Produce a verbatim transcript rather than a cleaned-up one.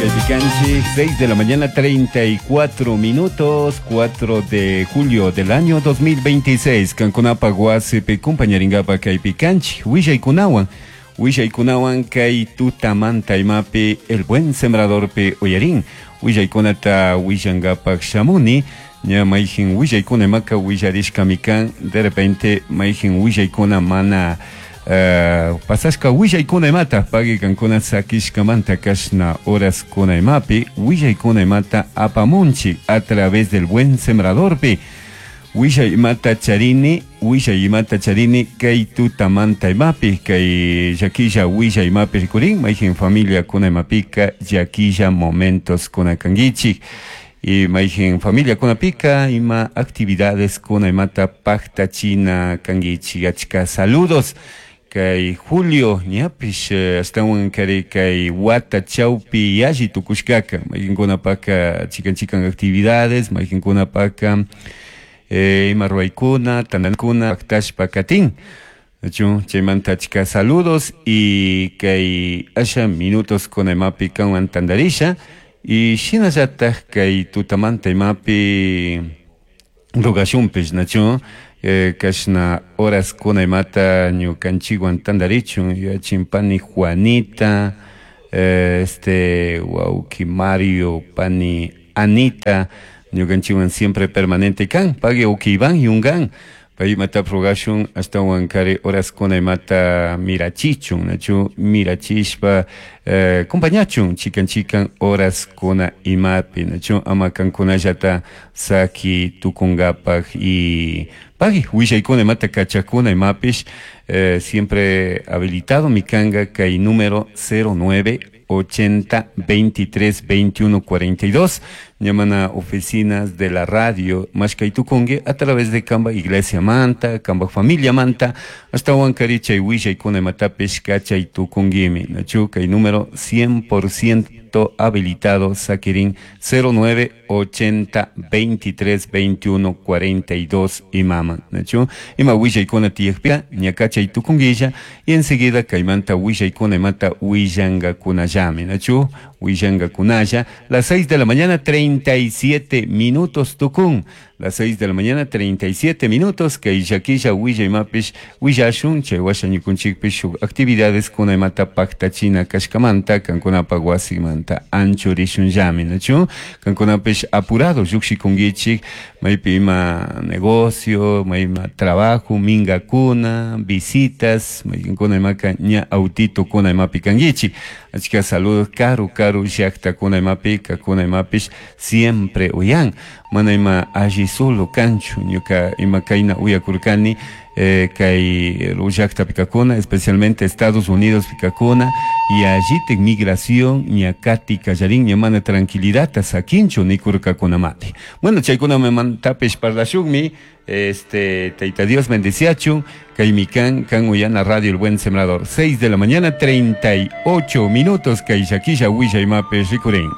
Kaypi seis de la mañana treinta y cuatro minutos, cuatro de julio del año dos mil veintiséis. Kankunapa wasipi kumpañaringapa kaypi kanchik willaykunawan, willaykunawan kay tutamanta imapi El Buen Sembradorpi uyarin. Willaykunata willangapak shamuni. Ña mayjin willaykuna imaka willarishkami kan, de repente mayjin willaykuna mana Uh, pasashka willaykuna imata pagui kankuna sakishkamanta kashna horaskuna imapi willaykuna imata apamunchik a través del Buen Sembradorpi. Willay imata charini, willay imata charini kay tutamanta imapi kay llakilla willay imapi rikurin mayjin familia kuna imapika llakilla momentos kuna kankichik. Y mayjin familia kunapika ima actividades kuna imata paktachina kankichik. Achka saludos kay Julio ñapish astawan kari kay wata chawpi yalli tukushkaka mayqinkunapaka chikan chikan actividades mayqinkunapaka eh, ima ruwaykuna tantankuna paktashpa katin. Chu chaymanta achka saludos y kay asha minutos kuna imapi kanwan tantarisha y shinallataj kay tutamanta imapi rogashunpish nachu eh, kashna horas kuna imata ñukanchikwan tantarichun yachin pani Juanita, eh, este wauki Mario, pani Anita ñukanchikwan siempre permanente kan pagui wauki Iván yungan pay imata rogashun ashtawan kari horas kuna imata mirachichun nachu mirachishpa eh, compañachun chikan chikan horas kuna imapi nachu ama kankunallata saki tukungapak y pagui willaykuna imata kachakuna imapish eh, siempre habilitado mi kanga kay número cero nueve ochenta veintitrés veintiuno cuarenta y dos. Llaman a oficinas de la radio Mashkay Tukungi a través de Kamba Iglesia Manta, Kamba Familia Manta, hasta Huancaricha y Huilla y Cuna Matapish, Cacha y Tucunguimi. Nachu, kay número cien por ciento habilitado, Saquirín cero nueve ochenta veintitrés veintiuno cuarenta y dos y mama. Nachu, ima Huilla y Cuna Tiyajpia, Ñacacha y Tucunguilla, y enseguida Caimanta Huilla y Cuna Mata Huillanga Cunayame. Nachu, Huillanga Cunaya, las seis de la mañana treinta y siete minutos Tucún, las seis de la mañana treinta y siete minutos, que Iyaquilla, Huilla y Mapish, Huillashun, Chayhuasha, Ñukunchikpish, actividades Cuna y Mata Pacta China, Kashkamanta, Cancunapa, Guasimanta, Anchurishun Yami, Nachu, Cancunapish apurado, Yuxi Kungichik, Maypi ima negocio, mayma trabajo, minga kuna, visitas, maykinkuna imaka ña autito kuna imapi kangichi. Achka saludos, karu, karu, llakta kuna imapika, kuna imapish, siempre uyan. Mana ima alli solo kanchu, ñuka ima kayna uyakurkani, eh, kay llakta pikakuna, especialmente Estados Unidos pikakuna, y allí te migración, ñakati kallarin, ñamana tranquilidad, sakinchu nikurkakuna mati. Bueno, chaykuna me mantapish parlashukmi, este, Taita Dios bendeciachun, kay mikan, kan uyana Radio El Buen Sembrador. seis de la mañana, treinta y ocho minutos, kay llakilla, huilla y mape, rikurin.